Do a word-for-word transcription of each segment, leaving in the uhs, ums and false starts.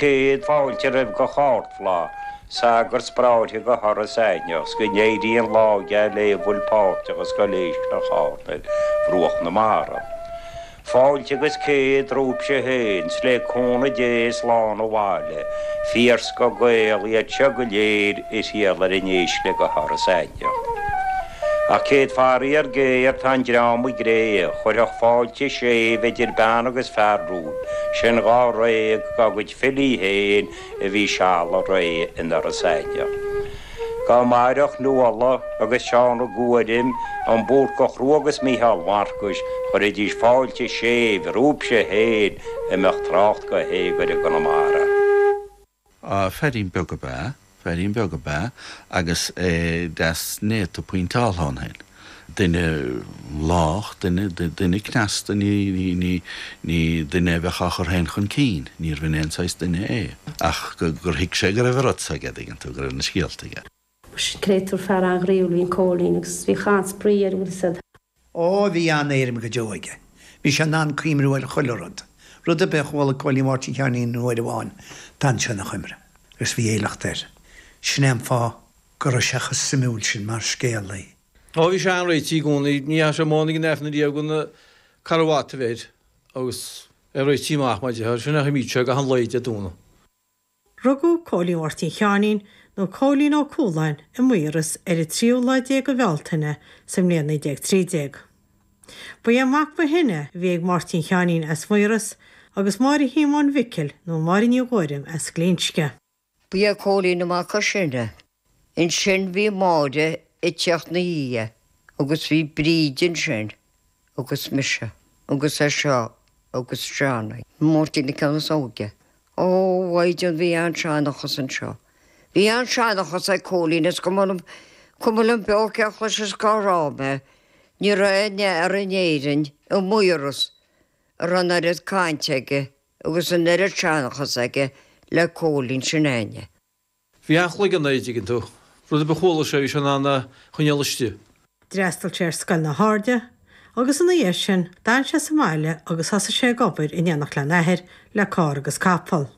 céad fáilte roimh gach ardfhlaith, sagart 's bráithre go hIorras Aithneach, 's go n-éirí an lá geal lé a bhfuil páirteach i Scoil Éisc Loch Chairn ar bhruach na mara. Fáilte agus céad romhaibhse féin, 's le cúnamh Dé slán abhaile, fíorscoth Gael iad seo go léir a thriall ar an éisc go hIorras Aithneach. Ach céad faraor géar tá an dream i gcré, chuirfeadh fáilte séimh idir bean agus fear romhaibh, sin dháréag dá gcuid filí féin a bhí seal a ré in Iorras Aithneach. Dá mairfeadh Nuala agus Seán Ó Guairim, an Búrcach Rua agus Mícheál Mharcais, chuirfidís fáilte séimh romhaibhse féin a mbeadh trácht go héag ar i gConamara. Feairín beag ab ea, feairín beag ab ea, agus é deas néata pointeáltha ann féin. Duine lách, duine, duine cneasta, ní, ní, ní, ní duine a bheadh á chur féin chun cinn, níorbh in aon saghas duine é. Ach gur thuig sé go raibh an rud seo aige, dtuigeann tú, go raibh na scéalta aige. Créatúr fear an-ghroíúil a bhí in Cóilín agus bhí an-spraoi air bhfuil fhios Ó bhí an-éirim go deo aige. Bhí sé in ann cuimhniú ar chuile rud. Rud ar bith a chuala Cóilín Mháirtín Sheáinín uair amháin d'fhan sé ina chuimhne, agus bhí éileacht air. Sin é an fáth go raibh sé chomh suimiúil sin mar scéalaí. Ó bhí sé an-réitithe i gcónaí, ní dheachaigh sé amháin ag an Aifreann riamh gan carbhat a bheith air agus é réitithe amach mar a déarfá, sin a choimeád sé gach aon lá Dé Domhnaigh. Rugadh Cóilín Mháirtín Sheáinín nó Cóilín Ó Cualáin i Maoras ar an tríú lá déag de Bhealtaine sa mbliain naoi déag trí déag. Ba é an mac ba shine a bhí ag Máirtín Sheáinín as Maoras agus Máire Shíomóin Mhicil nó Máire Ní Ghuairim as Glinsce. Ba é Cóilín an mac is sine. Ansin bhí Máire ag teacht ina dhiaidh agus bhí Bríd ansin agus mise agus é seo agus Johnny. Máirtín an ceann is óige. Ó a Mhaighdean bhí an-seanchas anseo. Bhí an-seanchas ag Cóilín is cuma liom cuma liom beo cé a chloisfeas cá raibh mé. Ní raibh aon fhear in Éirinn i Maoras a raibh an oiread cainte aige agus an oiread seanchas aige le Cóilín sin againne. Bhí an-chloigeann air, dtuigeann tú. Rud ar bith a chuala sé bhí sé in ann a choinneáil istigh. D'fhreastail sé ar scoil na hAirde agus ina dhiaidh sin d'fhan sé sa mbaile agus thosaigh sé ag obair in éineacht lena athair le carr agus capall.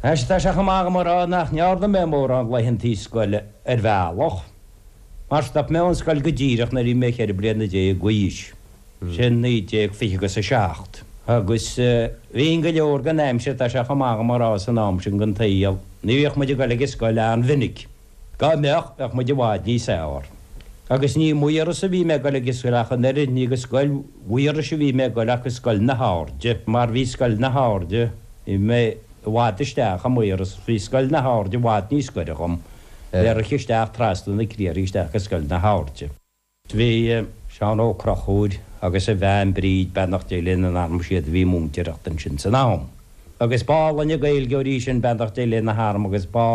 Anois tá sé chomh maith agam a rá nach ndearna mé mórán laethantaí scoile ar bhealach, mar stop mé ón scoil go díreach nuair a bhí mé ceithre bliana déag d'aois, sin naoi déag fiche agus a seacht. Agus bhí go leor den aimsir, tá sé chomh maith agam a rá san am sin den tsaol, ní bhíodh muid ag dul ag an scoil an-mhinic. Dá mbeadh, bheadh muid i bhfad níos fearr. Agus ní i Maoras a bhí mé ag dul ag an scoil ach an oiread, ní go scoil Mhaorais a bhí mé ag dul ach go scoil na hAirde, mar bhí scoil na hAirde, bhí mé i bhfad isteach i Maoras, bhí scoil na hAirde i bhfad níos gaire dhom, bhéarfainn isteach trasna na criathair isteach go scoil na hAirde. Bhí Seán Ó Conchúir agus a bhean Bríd, beannacht Dé lena n-anam, siad a bhí múinteoireacht ansin san am. Agus b'álainn an Gaeilgeoir í sin, beannacht Dé lena hanam, agus b'álainn